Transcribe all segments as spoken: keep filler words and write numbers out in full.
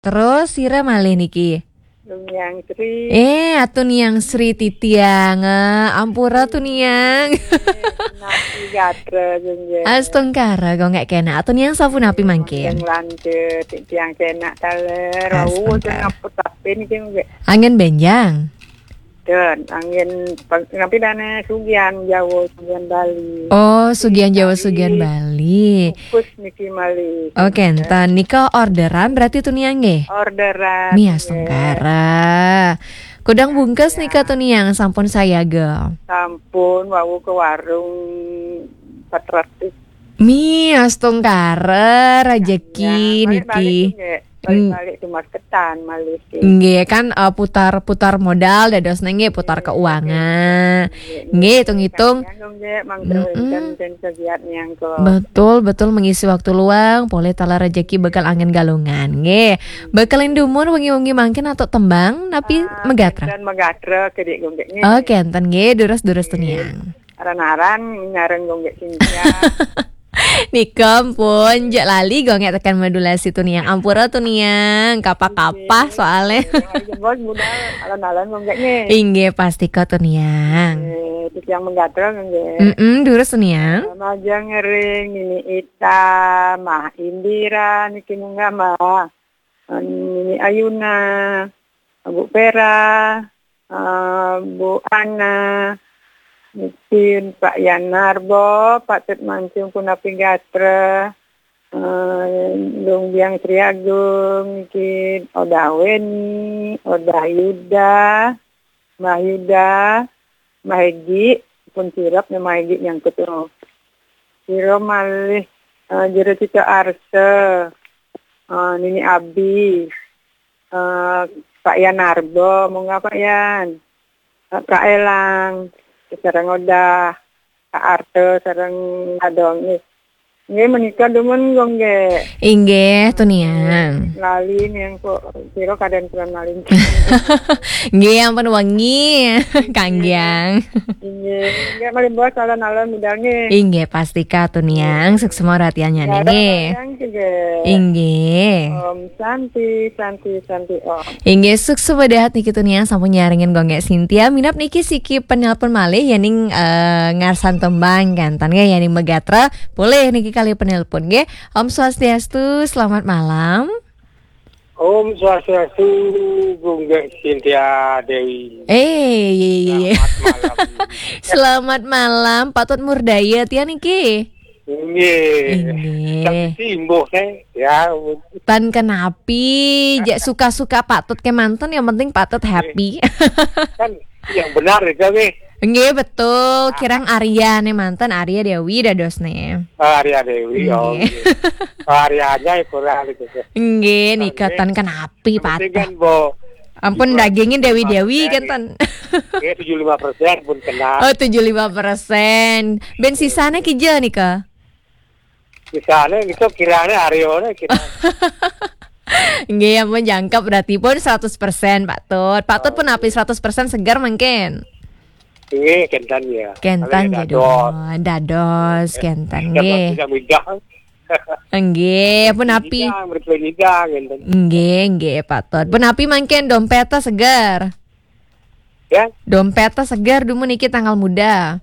Terus sira malih niki? Tuniang Sri. Eh, Atuniang Sri titiang. Eh, ampura Tuniang. Napi gatra, Jeng, Jeng. Astungkara, kok nggak kena. Atuniang sapunapi mangkin? Yang lanjut, tiang kena taler. Wau, Astungkara. Sing ngaput tapi niki nggih. Angin benjang. Dan angin pang-, napi dana Sugian Jawa, Sugian Bali. Oh, Sugian Jawa, Bali. Sugian Bali. Fokus niki malih. Oke, enten nika orderan berarti Tuniang nggih? Orderan, nggih. Astungkara. Kudang bungkus nika Tuniang sampun sayaga. Sampun, wau ke warung empat ratus. Mi, astungkara, rejeki niki. Ya, balik-balik nggih. Balik-balik tumas ketan malih nggih. Nggih, kan, eh, putar-putar modal dados nggih, putar keuangan. Nggih, nggih. Nggih, hitung-hitung. Kang Jang nggih, mangke wenten sing kegiat nyangko. Betul, betul, mengisi waktu luang, polih taler rejeki bekal angin galungan. Nggih. Bekalin dumun wengi-wengi mangkin atau tembang, napi megatra? Dan megatra kedik nggih. Oke, enten nggih, durus-durus Tuniang. Aran-aran nyareng nggih Cynthia. Nika pun, jek lali nggih tekan modulasi Tuniang. Ampura Tuniang, kapah-kapah soale. Ayo, Bos, budal alon-alon nggih. Inggih, pastika Tuniang. Eh, titiang megatra nggih. Mm-mm, durus Tuniang. Majeng ring Nini Ita, Mah Indira, niki munggah Mah. Nini Ayuna, Bu Vera, eh, Bu Ana, mungkin Pak Yanarbo, Pak Tet Mancung, punapi gatra, eh, Dong Biang Sri Agung, mungkin Odah Weni, Odah Yuda, Mbah Yuda, Mbah Egi, pun sirep nih Mbah Egi nyangkut tuh. Sira malih, eh, Jero Cita Arsa, eh, Nini Abi, eh, Pak Yan Arbo, munggah Pak Yan. Eh, Kak Elang, sareng Odah, Kak Arta, sareng Adong. Nggih, menika dumun nggih. Inggih, Tuniang. Lali nih yang kok sira kadang kurang lali. Nggih, ampun wengi, Kang Giang. Inggih, nggih malih bos alon-alon budal nggih. Inggih, pastika Tuniang, suksma ratiannya nggih. Inggih. Om Santi, Santi, Santi Om. Inggih, suksma dahat niki Tuniang sampun nyarengin Gonggek Sintia. Minap niki siki penelpon malih yening, eh, ngarsan tembang kenten nggih yening megatra. Boleh niki kali penelpon nggih. Om Swastiastu, selamat malam. Om Swastiastu, Gunggek Sintia Dewi. Eh, iya, iya, iya. Selamat malam. Selamat malam, Pak Tut Murdaya tiang niki. Nggih. Inggih. Tapi timbuh, eh, ya. Tan kenapi, jek suka-suka Pak Tut kemanten, yang penting Pak Tut happy. Kan yang benar itu nggih. Nggih, betul. Kirang Arya nih manten, Arya Dewi dados nih. Oh, Arya Dewi, oh, nggih. Nggih. Oh, Arya aja ya kurang gitu. Nggih, nggih. Nggih, nika tan kenapi, Pak Tut. Yang penting kan, Bo, ampun, dagingin Dewi-Dewi kan, ten. Nggih, tujuh lima persen pun kena. Oh, tujuh lima persen. Ben sisane kija nika? Sisane niku kirane Aryone kira. Nggih, ampun jangkep berarti pun seratus persen, Pak Tut. Pak Tut pun api seratus persen segar mungkin. Nggih, kenten ya. Kenten. Kalau ya jadi dados. Dados, kenten nggih. Kan tidak mudah. Nggih, pun api. Tidak, mereka tidak, kenten. Nggih, nggih, Pak Tut. Pun api mungkin dompetnya segar. Ya? Dompetnya segar, dumun niki tanggal muda.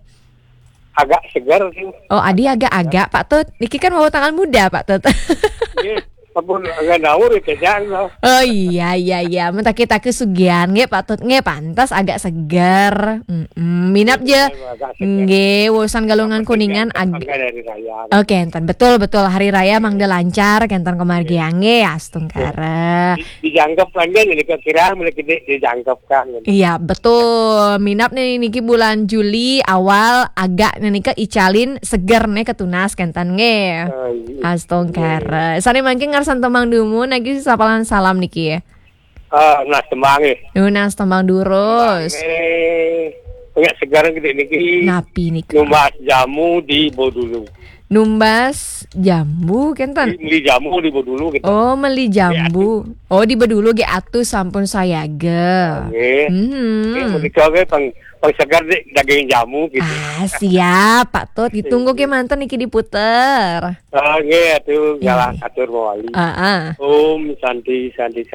Agak segar sih. Oh, adi agak-agak, Pak Tut. Niki kan mau tanggal muda, Pak Tut. Nggih, ampun, agak ngawur ya, kejang, loh. Oh, iya, iya, iya. Mentaki-taki sugian, nggih, Pak Tut. Nggih, pantas agak segar. Mm-mm. Minap je. Agak segar. Nggih, urusan galungan kuningan ag-, agak hari raya. Oke, enten. Betul, betul. Hari raya mangda lancar, kenten kemargian. Nggih, astungkara. Di-, dijangkep kan, kan, ini kira-kira mulai gede dijangkep kan. Iya, betul. Minap nih niki bulan Juli awal agak nih nika icalin seger nih ketunas kenten nggih. Oh, iya. Astungkara. Sane mangke ngarsan tembang dumun lagi sapalan salam niki ya. Ah, nas tembang ya. Nunas tembang durus. Eh, punya segar gede niki. Napi niki? Numbas jamu di Bodulu. Numbas jambu, kenten? Beli jamu di Bedulu gitu. Oh, meli jambu. Oh, di Bedulu ge atus sampun sayaga. Nggih. Hmm. Nggih, menika ge pang pang seger deh daging jamu gitu. Ah, siap, Pak Tut. Ditunggu ke manten niki diputer. Ah, nggih, atuh Iya. Galah atur mawali. Ah, ah. Om Santi Santi